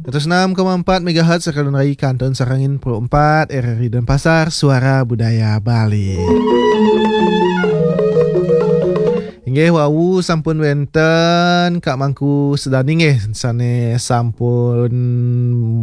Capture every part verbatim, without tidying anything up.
Seratus enam koma empat megahertz, Sakalun Rai, Kantun Sarangin, Pro empat, R R I Denpasar, Suara Budaya Bali. Inggih, wau sampun wenten Kak Mangku Sedani nggih, sane sampun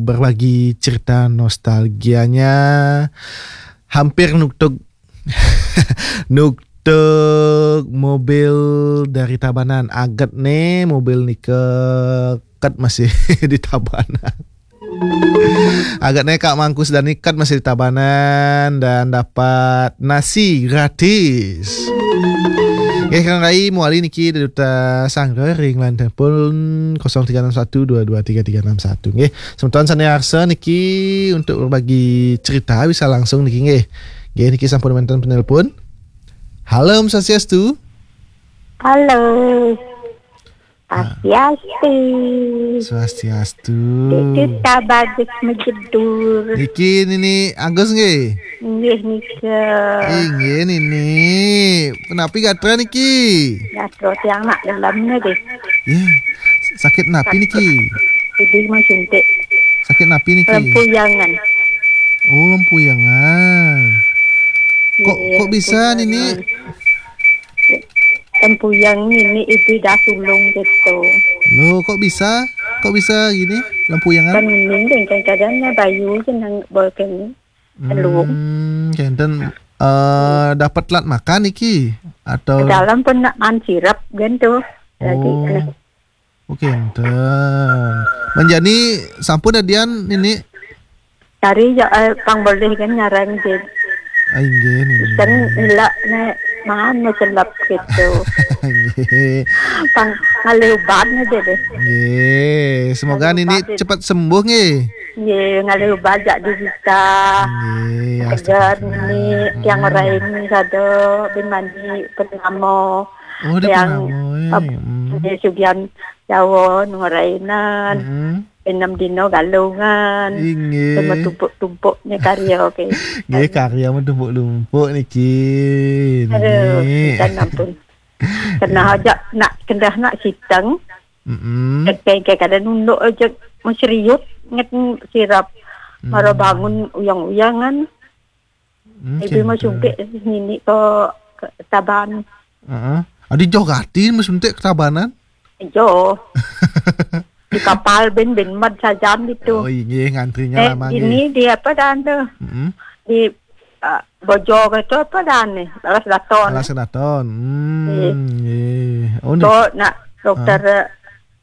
berbagi cerita nostalgianya, hampir nuktuk nuktuk mobil dari Tabanan. Aget ne mobil nika ket masih di Tabanan. Aget ne Kak Mangku Sedani ket masih di Tabanan dan dapat nasi gratis. Nggih, Kang Rai, mawali niki dari Duta Sangga ring line telepon kosong tiga enam satu dua dua tiga tiga enam satu. Nggih, semeton sane arsa niki untuk berbagi cerita bisa langsung niki nggih. Nggih, niki sampun wenten penelpon. Halo, Om Swastiastu. Halo. Ah. Swastiastu. Swastiastu. Itu tak bagus mejedur. Niki Nini Agus nggih? Nggih nika. Inggih Nini. Kenapi gatra niki? Gatra tiang nak dalam nggih. Ya. Sakit napi niki? Jadi mau suntik. Sakit napi niki? Lempuyangan. Oh, lempuyangan. Kok, iya, kok bisa, Nini? Tempuyang ini ibu dah sulung gitu. Loh, kok bisa? Kok bisa gini? Lempuyangan? Kan ini kan kadangnya bayu senang bolken telung. Hmm, kenten, eh, dapat telat makan iki atau? Dalam pun nak man sirap gitu. Jadi, oh. Aneh. Oh, kenten. Menjani sampun adian Nini? Cari ya, eh, pang boleh kan ngarang je. Ah, inggih, Nini. Kan ilak ne mana selap gitu. Inggih. Pang ngalih ubat ne je deh. Inggih. Semoga Nini cepat sembuh nggih. Nggih, ngalih ubat jak di kita. Nggih, segar astagfirullah. Nini tiang orang ini sado bin mandi purnamo. Oh, dia yang purnamo, eh. Ap-, hmm. Nggih, sugian Jawa nurainan. Hmm. Enam dino galungan. Inggih. Sama tumpuk-tumpuknya karya, oke. Nggih, karya mah tumpuk-tumpuk niki. Aduh, nggih. Kan ampun. Kena aja nak, kena nak siteng. Mm-mm. Kayak, kayak kada nunduk aja meseriut nget sirap. Hmm. Mara bangun uyang-uyangan. Hmm, ibu mau center. Sumpik nini ke, ke Taban. Heeh. Adi jauh gati mau suntik ke Tabanan? Jauh. Di kapal ben, ben mat sajan gitu. Oh, inggih, ngantrinya eh, lama ini nggih. Di apa dah tu? Mm-mm. Di, ah, Bojor itu apa dah ni? Alas Daton. Alas Daton. Hmm, iya. Nggih. Oh, ni. Kok nak dokter, ah,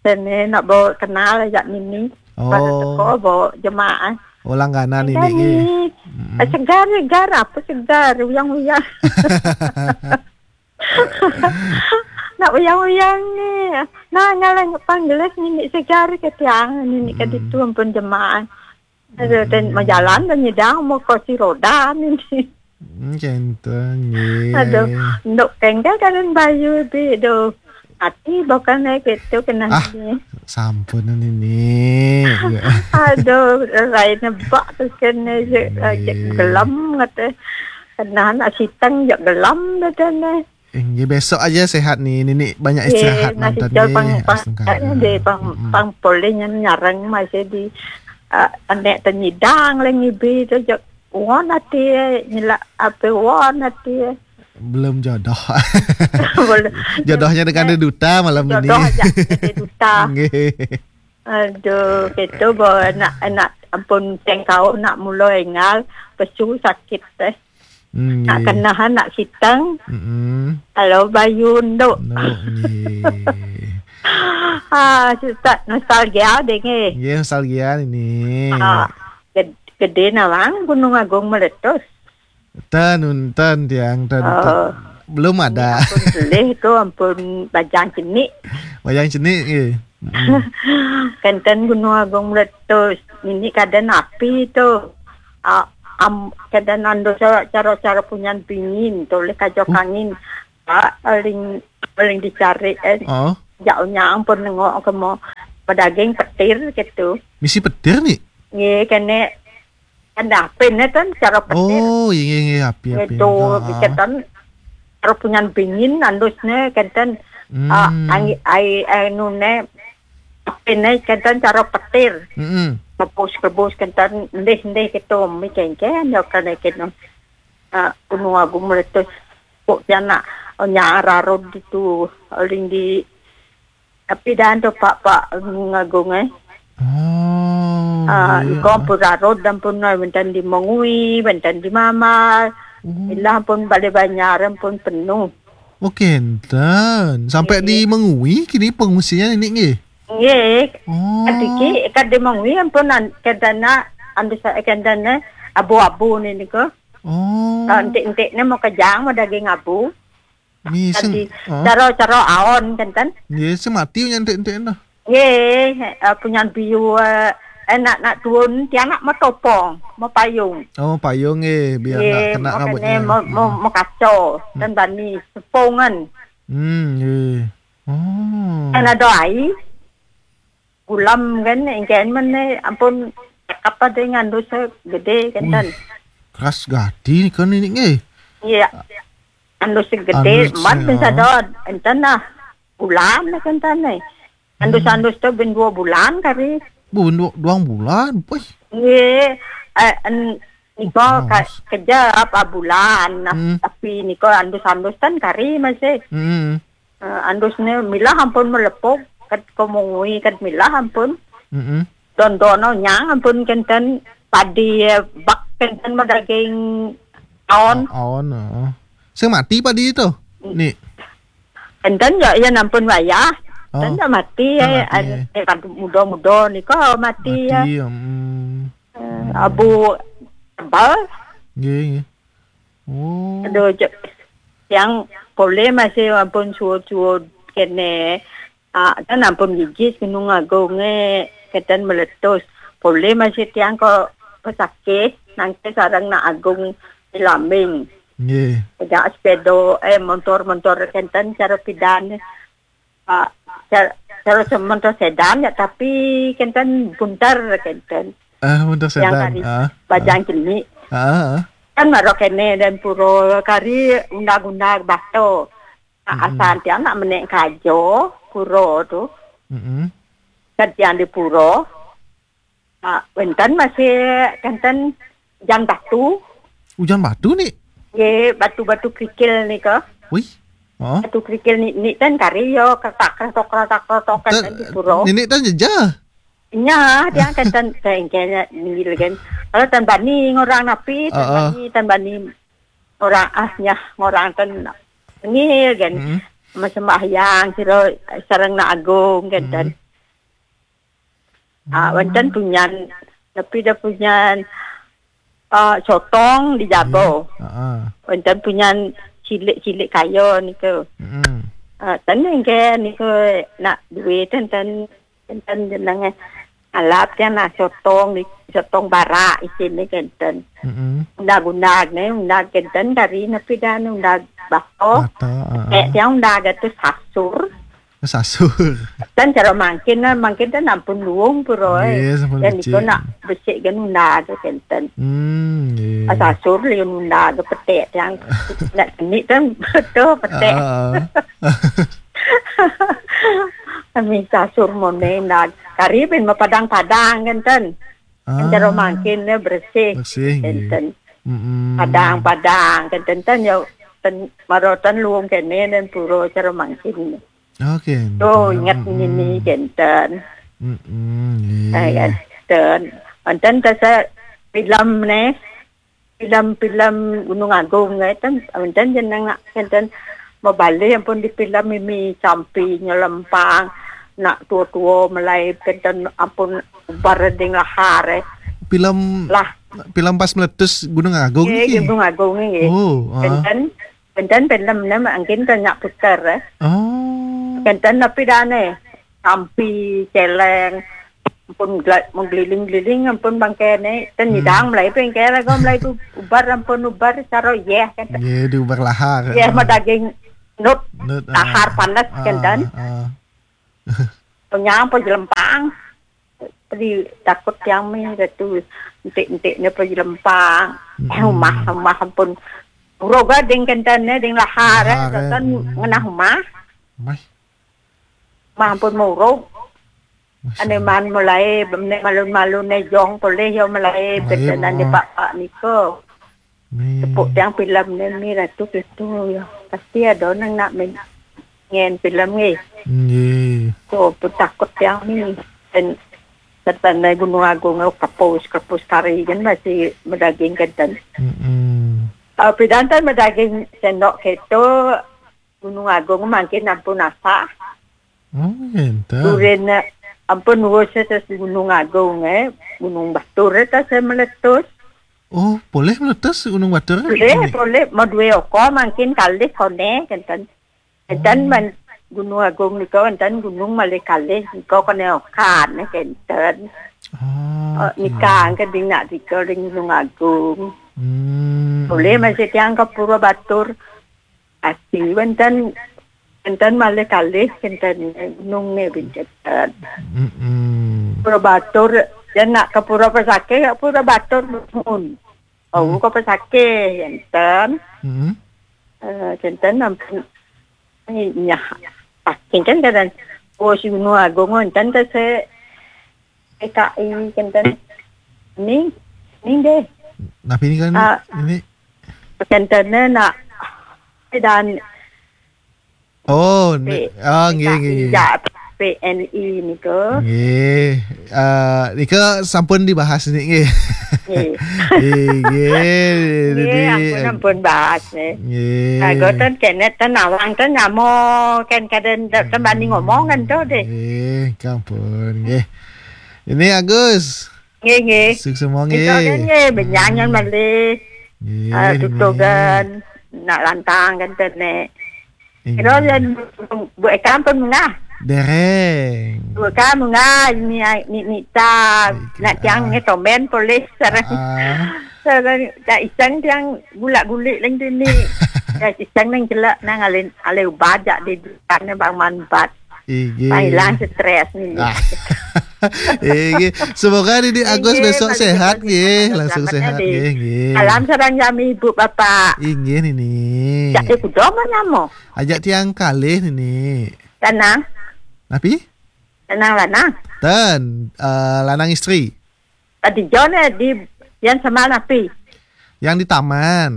sini nak bawa kenal ajak nini. Oh. Pada teko bawa jemaah. Oh, langganan ini, ini. Nggih. Mm-mm. Eh, segar, segar. Apa segar? Uyang-uyang. Nak uyang-uyang ni. Nah, ngalang panggelis nini segar ke tiang. Nini ke, hmm, ditu ampun jemaah. Aduh, dan, hmm, majalan dan nyidang mau kursi roda nini. Hmm, kenten, nggih. Aduh, nduk tengga karen bayu bi, duh. Ati bukan naik itu kena ah, ni. Sampun nini. Aduh, lain nebak terus kena je, nggih, je gelam kata. Kena nak siteng je gelam kata ni. Inggih, besok aja sehat ni. Nini banyak istirahat nonton nggih. Pang, pang, astungkara. Deh, pang, mm-mm, pang poleh nyarang masih di, ah, anak tenyidang lagi bi tu je. Won ati, nyelak apa won ati. Belum jodoh. Belum. Jodohnya dengan, eh, duta malam ini. Jodoh aja, dengan duta. Nggih. Aduh, gitu, bo, nak, nak, ampun, tengkau, nak mula engal, pesu sakit teh. Hmm, nak nggih. Kenahan, nak sitang. Mm-mm. Kalau bayun tu. No, nggih. Ah, susah, nostalgia deh, nggih. Nggih, nostalgia ini. Ah, ged-, gede nawang Gunung Agung meletus. Ten, ten, tiang, ten, ten. Oh. Belum ada. Ampun, selih tu, ampun, bajang cenik. Bajang cenik, nggih. Mm-mm. Kenten Gunung Agung meletus. Ini keadaan api tu. Ah, am, keadaan ando cara, cara, cara punyan pingin tu, oleh kajo kangin. Ah, paling, paling dicari, eh. Oh. Jauhnya ampun nengok ke mau pedaging petir gitu. Misi petir ni? Nggih, kene Kan dapin ne kan cara petir. Oh, iya, iya, iya, api, api. Itu, ah, bikin kan cara punyan bingin andusne kenten, hmm, ah, ai, ai, anu ne, Apine kenten cara petir. Mm-mm. Rebus-rebus kenten, ndih-ndih gitu, mi kengken, ya kene kene. Ah, Gunung Agung meletus. Kok jana nyararod itu, oling di, tapi dan tu Pak, Pak Gunung Agung, eh. Oh, Ah, iya, iya. Iko pun rarod dan pun, eh, wenten di Mengwi, wenten di Mamal. Oh. Ilah pun Balai Banjar pun penuh. Oh, kenten. Sampai Iya. di Mengwi kini pengungsian ini nggih? Nggih. Oh. Kadiki, kad di Mengwi ampun an-, kadana, andu sa-, kadana abu-abu ni niko. Oh. Ah, entik-entik ni mau kejang, mau daging abu. Miseng. Tadi, ah. Caro-caro aon, kenten. Nggih, sing mati nya entik-entik nah. Nggih, eh, punyan biu, eh, eh, nak, nak tuun, tiang nak mau topong, mau payung. Oh, payung nggih, biar Nggih, nggak kena mau rambutnya. Kene, mau, mau, Hmm. mau kaco, Hmm. dan bani, sepungan. Hmm, nggih. Oh. Kan ada ai, gulam kan, engken mana, ampun, apa deh ngandus gede, kenten. Wih, keras gati ni kan ini nggih. Iya. Andus gede, Andus, mat ya. Bisa dot, enten nah, bulan lah kenten ni. Andus-andus tu ben dua bulan kari. Bu, ben dua, dua bulan, wih. Nggih, eh, en-, niko ka-, Mas. Kejap, ah, bulan. Nah, Hmm. tapi niko andus-andus kan kari masih. Hmm. Eh, andus ni milah ampun melepuk, kat komongui, kat milah ampun. Mm-mm. Don-dono nyang ampun kenten padi, eh, bak kenten mau daging aon. Oh, aon, heeh. Sing mati padi itu? Mm. Ni. Kenten ya, ya nampun wayah. Oh. Kenten ya mati, Oh, eh, mati, an-, eh. eh, kan muda-muda niko mati, ya. Mati, ya, mm. Eh, abu tebal. Nggih, nggih. Oh. Aduh, cek. Yang boleh masih ampun suud-suud kene. Ah, kan ampun gigis Gunung Agung, eh, kenten meletus. Boleh masih tiang kok pesakit, nangke sareng nak agung di Lambing. Nggih. Pegang sepeda, eh, motor-motor kenten cara pidan. Ah, cara, cara se-, motor sedan ya, tapi kenten buntar kenten. Ah, motor Yang sedan, hari ah, bajang ah. Jenik. Ah, ah. Kan maro kene dan puro kari undang-undang bato. Nah, Mm-mm. asal tiang nak menek kajo, puro tu. Mm-mm. Kan tiang di puro. Ah, wenten masih kenten jan batu. Ujan batu ni? Ye, batu-batu kerikil ni ke. Wih. Oh. Batu kerikil ni, ni ten kari yo, ketak, ketok, ketak, ketok, Ten, kenten di puro. Nini ten jeja? Nya, dia kenten, kenten, kenten, ningil kan. Kalau ten bani ngorang napi, ten Ah, ah. bani, ten bani orang ah, nya, ngorang ten ningil kan. Mm-mm. Sembahyang, siro sareng nak agung, kenten. Mm-mm. Ah, wenten punyan, tapi dah punyan, ah, sotong di jaba. Nggih. Ha, ha. Wenten punyan cilik-cilik kaya niku. Mm-mm. Ah, ten nggih niku nak duit ten, ten, ten jenenge alap kan nak sotong di, sotong barak isine kenten. Mm-mm. Undag-undag ne, undag kenten kari napi dan undag bato. Bato, ha, ha. Kek tiang undag tu sasur. Sasur. Kan cara mangkin, nah, mangkin kan ampun luung pura, eh. Nggih, sampun Dan becik. Iko nak becik kan undag kenten. Hmm, nggih. Ah, sasur liun undag petek yang nak seni kan betul petek. Ah. Kami sasur mone undag. Kari pin ma padang-padang kenten. Kan cara Ah. mangkin ne bersih. Bersih, nggih. Kenten. Mm-mm. Padang-padang kenten ten ya ten marotan luung kene dan pura cara mangkin. Oke, Oh, betul. Ingat Mm-mm. Nini kenten. Mm-mm, iya. Eh, kenten. Kenten kasa film ne. Film-film Gunung Agung ne ten. Kenten jeneng nak kenten mabali ampun di film ini sampi nyelempang nak tua-tua melai kenten ampun ubar ding lahar, eh. Film Lah. Film pas meletus Gunung Agung Nggih, niki? Gunung Agung nggih. Oh, ah. Kenten Kenten film ne mangkin kan nak putar, eh. Oh. Kenten napi dane? Sampi, celeng, ampun gla-, menggeliling-geliling ampun bangkene. Ten Hmm. Nyidang mulai bengkel aku mulai tu ubar ampun ubar saro yeh kenten. Nggih, diubar lahar. Yeh, ah. Ma daging nut, Nut, ah. Lahar panas Ah, kenten. Ah. Penyang apa jelempang. Pedi takut tiang mi datu entik-entik ne pedi lempang. Mm-mm. Eh, rumah, rumah ampun. Uroga ding kenten ne, ding lahar, eh, Lahar, eh, kan mm. Ngenah rumah. Mah. Rumah ampun murug. Masya Allah. Ane man mulai, ne malun-malun ne jong poleh yo mulai, Mulai, betenan de oh. Pak-pak niko. Ni. Tepuk tiang filem ne mi ratu itu yo. Pasti ada nang nak main ngen filem ni. Nggih. So, pun takut tiang ni. Dan serta ne Gunung Agung, oh, kapus, kapus kari kan masih medaging kenten. Mm-mm. Uh, pidan tan medaging sendok keto, Gunung Agung mangkin ampun asa. Oh, enten. Durin, eh, ampun wus atas Gunung Agung, eh. Gunung Batur, eh, tas, eh, meletus. Oh, poleh meletus Gunung Batur, eh? Poleh, poleh. Mau dua oko mangkin kalih kone, kenten. Enten Oh. man Gunung Agung nika, enten gunung malih kalih nika kone okan, eh, kenten. Ah, Oh, oke. Nika angke ding nak nika ring Gunung Agung. Hmm. Poleh masih tiang ke Pura Batur. Ati wenten, wenten malih kalih kenten gunung ne bintetan. Mm-mm. Pura Batur, ya nak ke Pura Pesakih, ke Pura Batur nuhun. Oh, Hmm. ke Pesakih, enten. Mm-mm. Eh, enten ampun. Nyah, paking kan kadang. Oh, si Gunung Agung, enten ke se P K I kenten. Ni, ni deh. Napi ni kan Ah. ini? Kenten ne nak dan Oh, ni, P-, ah, nggih, nggih, nggih. P N I nika. Nggih. Ah, nika sampun dibahas ni, nggih. Nggih. Nggih, nggih. Nggih, Didi. Ampun, ampun bahas ni. Nggih. Lagu tan kenet tan awang tan nyamo kan kadang tak tembani ngomong kan tu deh. Nggih, ampun, nggih. Ini Agus. Nggih, nggih. Sukses semua, Nika nggih. Kan nggih, benyangan Hmm. malih. Nggih, Ah, nggih. Tutugan, nak lantang kan tenek. Inggih. Kira yang buat kampung mengah. Dereng. Buat kampung mengah, ni, ni, ni ta, Baik, nak tiang ah. Ni tomen polis sarang. Ah. Sarang, tak iseng tiang gulak-gulik lang dini. Tak iseng nang jelak, nang alin, alin ubah jak di dunia bang manbat. Inggih. Hilang stres ni. Ah. Inggih. Semoga Didi Agus Inggih, besok balik sehat, sehat, nggih. Selamat, Langsung selamat, sehat, Didi. Nggih, nggih. Salam sareng jami ibu bapak. Inggih, Nini. Jak di kudo mana mo? Ajak tiang kalih, Nini. Lanang. Napi? Lanang, lanang. Ten, eh, lanang istri. Tadi John, eh, di Bian Semal napi? Yang di taman.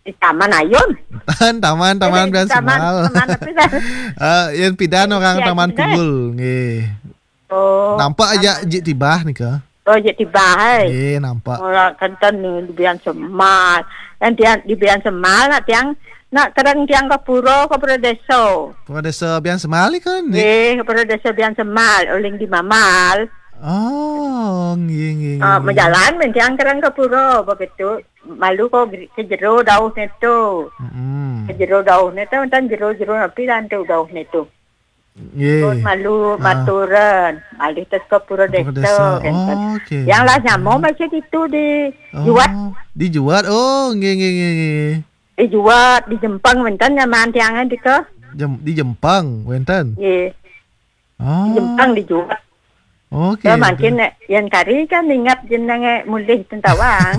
Di Taman Ayun. Tan, taman, taman Bian Semal. Taman napi dah? Eh, yang pidan orang Taman Kibul, nggih. Oh. Nampak aja Jik Tibah nika. Oh, Jik Tibah, hai. Nggih, nampak. Orang kenten ni di Bian Semal. Yang tiang di Bian Semal nak tiang nak kereng tiang ke pura, ke pura desa. Pura desa Bian Semal ni kan? Nggih, ke pura desa Bian Semal, uling di Mamal. Oh, nggih, nggih, nggih. Ah, majalan men tiang kereng ke pura, begitu. Malu ko geri-, ke jero dauh ne tu. Mm-mm. Ke jero dauh ne tu, enten jero-jero napi lan tu dauh ne tu. Nggih. Pun malu Ah. Maturan, malih tes ke pura desa, enten. Oh, okey. Yang lah nyamo masih itu di Oh, Juat. Di Juat. Oh, nggih, nggih, nggih, nggih. Di Juat, di Jempang wenten nyaman tiangan di ke. Jem-, di Jempang wenten? Nggih. Oh. Di Jempang di Juat. Okey. Ya, mungkin nek yang kari kan ingat jenenge mulih tentawang.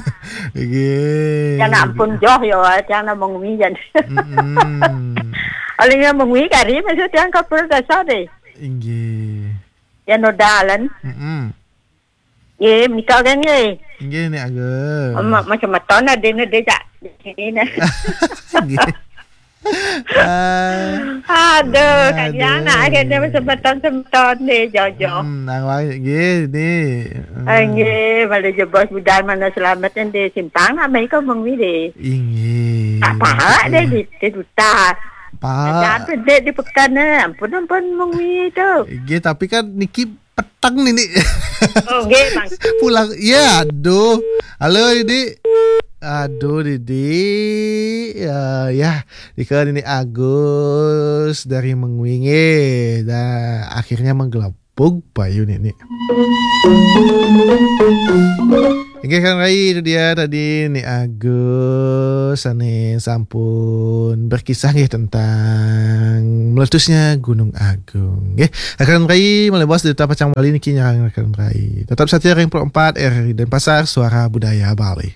Nggih. Yang ampun joh yo, yang namung wi jan. Mm-mm. Oleh yang mengwi kari maksud yang ke pura desa deh. Inggih. Yang nodalan. Mm-mm. Nggih, menika kan nggih. Nggih, Nek Agus. Macam meton ada ni dia jak di sini ni. Nggih. Ah. Aduh, kan Aduh. Yang nak akhirnya semeton-semeton ni, Jojo. Hmm, nang wai nggih ni. Hmm. Ah, nggih, balik je bos budal mana selamat yang di simpang nak mai kau mengwi deh. Inggih. Tak pahak deh di, di duta. Pahak. Ada apa deh di pekan ni? Ampun, ampun mengwi tu. Nggih, tapi kan niki petang ni, Dik. Oh, nggih, Bang. Pulang. Ya, aduh. Halo, Dik. Aduh, Dik. Ya, ya. Nika Nini Agus dari Mengwi nggih. Dah akhirnya menggelapug payu ni, ni. Inggih kan rai itu dia tadi ni Agus ane sampun berkisah nggih tentang meletusnya Gunung Agung nggih. Rakan rai malih bos di Duta Pacang Bali niki nyarang rakan rai. Tetap setia ring empat R R I Denpasar, Suara Budaya Bali.